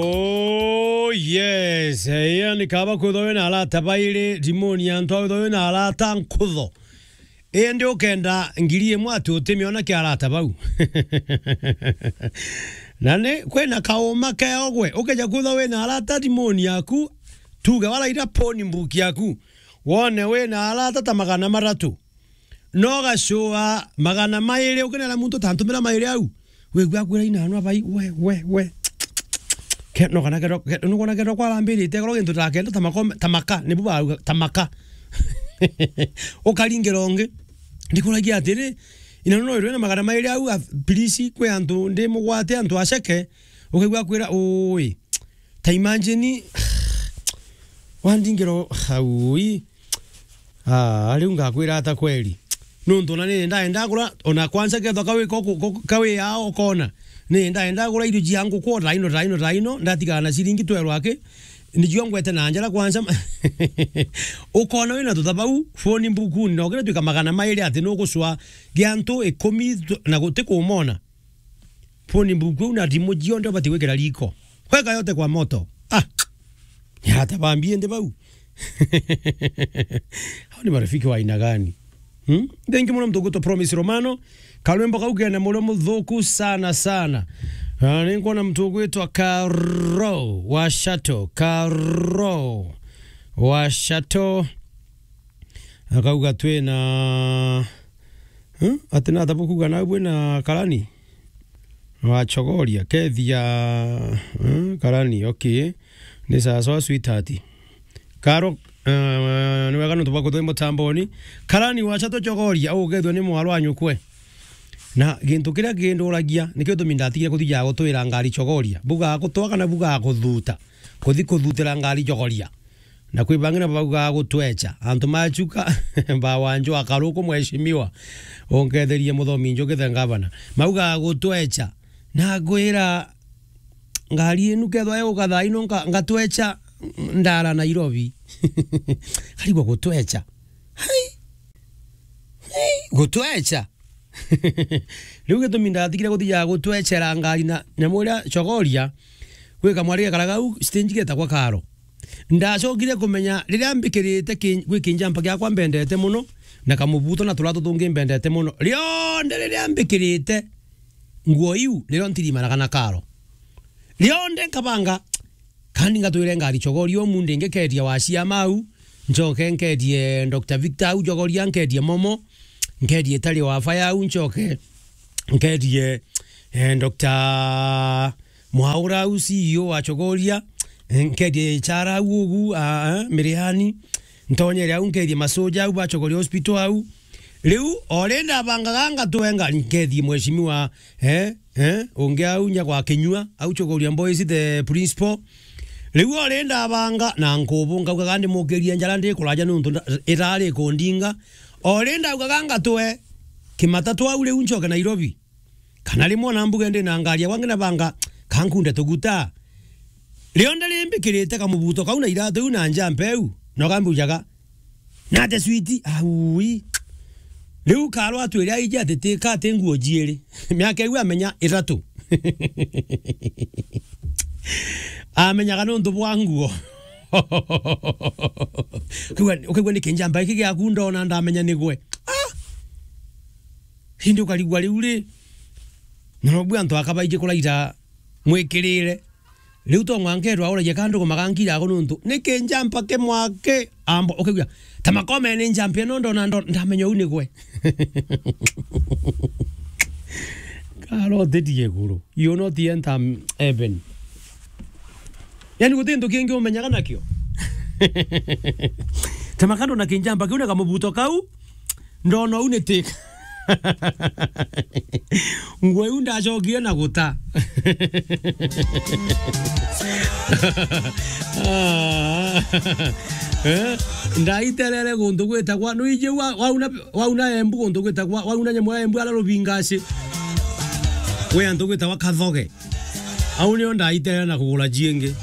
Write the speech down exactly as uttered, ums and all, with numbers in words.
Oh, yes. Eh, yani kaba kwithwa wina arata bairi, rimoni ya antu a withwa wina arata nkutho. Indi ukenda ngiri imwe ati utimiona kia arata bau. Na ni kwina kauma keogwe, ukeja kwithwa wina arata rimoni yaku, tuge waraira phone book yaku, wone wina arata ta magana matatu. No gacua magana mairi, ukinera muntu ta ntumira mairi au. Wigua akwira inanwa bai, we, we, we. Ke-, no kana kero, ke-, no kana kero kwarambirite, kero gintu ta kenda ta makome, ta maka, nibu bauga, ta maka. Ukaringira ungi. Ndikuragia atiri, inanwa no irwe na magana mairi au, a-, please, kwi antu ndi mugwate, antu aceke. Ukaigua akwira, ui. Ta imagine, wandingiro, aui. Ah, riu ngakwira ata kweri? Nontu ona ni ndaenda kura, ona kwanza kethwa kawi ko-, ko-, ko-, kawi ao ukona. Ni ndaenda kura irio cia nguku o taino, taino, taino, ndatigana na ciringi twerwa aki, nicio ngwete na njara kwanza. Ukona wina tuthabau, phone book-ini, na ukira twika magana mairi ati nugucwa gia antu ikumi tu-, na guti kumona. Phone book iu na thimu cionthe ubati gwikira riko. Weka yote kwa moto. Ah! Ni arata ba mbi indi bau. Hao ni marafiki wa aina gani? Hmm? Thank you muno mtu ugwitwa Promise Romano. Karwimbo kau kena murio muthuku sana sana. Ah, ni nkuona mtu ugwitwa Karo wa Shato. Karo wa Shato. Akauga twina Huh? Ati na tabu kuga na bwina karani? Wa Chogoria, kethia, huh? Karani, okay. Ni sawa sawa, sweetheart. Karo, eh, ni wega nontu bwa kuthwe mutamboni. Karani wa Shato Chogoria, ugethwe ni mwaro wa nyukwe. Na gintu kiria kinduragia, nikio gitumi ndatigire kuthija gutwira ngari Chogoria. Buga gutwa kana buga kuthuta. Kuthi kuthutira ngari Chogoria. Na kwi bangi na baugaa gutwecha. Antu machuka, ba Wanjo Akaruku, mheshimiwa, unketherie muthomi Njuki the governor. Maugaa gutwecha. Na ngwira, ngari inu kethwa yuka thaa ino nka-, ngatwecha ndara Nairobi. Karigwa gutwecha. Hai. Hai, gutwecha. Riu gitumi ndatigire guthiaga gutwechera ngari na nyamu iria Chogoria, gwi kamwari gekaraga au stage getagwa Karo. Ndacokire kumenya riria mbikirite ki-, gwi kinjampa giakwa mbendete muno, na kamubuto na turato tungi mbendete muno. Rionthe riria mbikirite nguo iu, nirio ntirimanaga na Karo. Rionthe nkabanga, kandi ngatwire ngari Chogoria umunthi, ngekeria wa ciama au, ncoke nkerie Doctor Victor au Chogoria, nkerie Momo, nkerie Tari wa Faya au, ncoke nkerie, eh, Doctor Mwaura au, C E O wa Chogoria, eh, nkerie Chara au ugu, ah, ah, Miriani, ntonyere au, nkerie masoja au ba Chogoria Hospital au. Riu, o ri ndabangaga ngatwenga, nkerie mheshimiwa, eh, eh, ungi au nya gwa Kinyua, au Chogoria Boys, the principal. Riu o ri ndabanga na nkubu, nkaugaga ndimukirie njara ndikuraja nontu nda-, irari kundinga. O ri ndaugaga ngatwe kimatatu au riu ncoke Nairobi. Kana rimwe ona mbuge ndi na ngari ya gwangi na banga, kankunde tuguta. Rionthe rimbikirite kamubuto kau na iratu iu na njampa iu, na ukambujaga, "Nate switi, aui." Riu Karo atwire aiji ati ti, ka ti nguo jiiri. Miaka iu amenya ithatu. Amenyaga nontu bwa nguo. Ukaigua, ukaigua ni kinjamba giki giaku ndona ndamenya ni gwe. Ah! Indi ukarigua riu ri, na nobu antu aka baiji kuraira mwikirire. Riu to mwanka etwa auragia kandu kumagankira ako nontu ni kinjamba kimwaki ambo, ukaigua, "Ta makome ni njamba ino ndona ndo-, ndamenya uu ni gwe." Karo utitie iguru. You will not enter heaven. Yani guti kintu kingi umenyaga nakio. Ta makando na kinjamba kiu na kamubuto kau, ndona uu ni ti. Nguo iu ndacokire na guta. Ah. Eh? Ndaiterere guntu gwitagwa, nuiji wa-, wauna, wauna Embu guntu gwitagwa, wauna nyamu ya Embu ara Rubingaci. Gwi antu gwitagwa Kathoge. Au nio ndaiterere na kugura ciingi.